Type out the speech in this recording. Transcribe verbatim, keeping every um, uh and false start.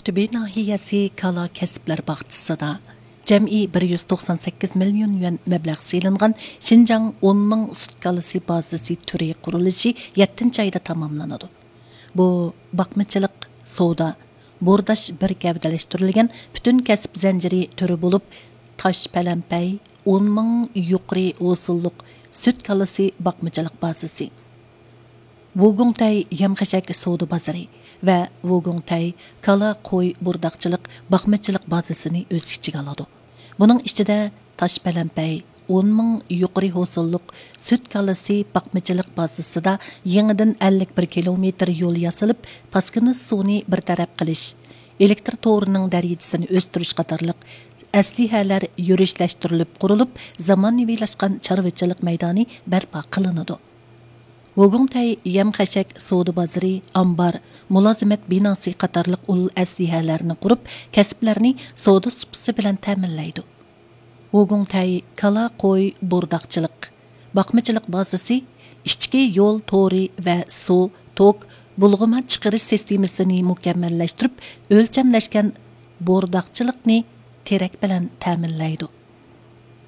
تۈبى ناھىيەسى كالا كەسىپلەر باغچىسىدا جەمئىي بىر يۈز توقسان سەككىز مىليون يۈەن مەبلەغ سېلىنغان شىنجاڭ ئون مىڭ سۈت كالىسى بازىسى تۈرى قۇرۇلۇشى يەتتىنچى ئايدا تاماملىنىدۇ. بۇ باقمىچىلىق، سودا، بورداش بىر گەۋدىلەشتۈرۈلگەن پۈتۈن كەسىپ زەنجىرى تۈرى بولۇپ، تاش پەلەمپەي، ئون مىڭ يۇقىرى ھوسۇللۇق سۈت كالىسى باقمىچىلىق بازىسى، ۋۇگۇڭتەي يەم-خەشەك سودا بازىرى ۋە ۋۇگۇڭتەي كالا قوي بورداقچىلىق باقمىچىلىق بازىسىنى ئۆز ئىچىگە ئالىدۇ. بۇنىڭ ئىچىدە تاش پەلەمپەي، ئون مىڭ يۇقىرى ھوسۇللۇق سۈت كالىسى باقمىچىلىق بازىسىدا يېڭىدىن ئەللىك بىر كىلومېتىر يول ياسىلىپ، پاسكىنا سۇنى بىر تەرەپ قىلىش، ئېلېكتر تورىنىڭ دەرىجىسىنى ئۆستۈرۈش قاتارلىق ئەسلىھەلەر يۈرۈشلەشتۈرۈلۈپ قۇرۇلۇپ، زامانىۋىلاشقان چارۋىچىلىق مەيدانى بەرپا قىلىنىدۇ. ۋوگۇڭتەي يەم-خەشەك سودا بازىرى، ئامبار، مۇلازىمەت بىناسى قاتارلىق ئۇل ئەسلىھەلەرنى قۇرۇپ، كەسىپلەرنى سودا سۇپىسى بىلەن تەمىنلەيدۇ. ۋوگۇڭتەي كالا قوي بورداقچىلىق، باقمىچىلىق بازىسى ئىچكى يول تورى ۋە سۇ، توك، بۇلغىما چىقىرىش سىستېمىسىنى مۇكەممەللەشتۈرۈپ، ئۆلچەملەشكەن بورداقچىلىقنى تېرەك بىلەن تەمىنلەيدۇ.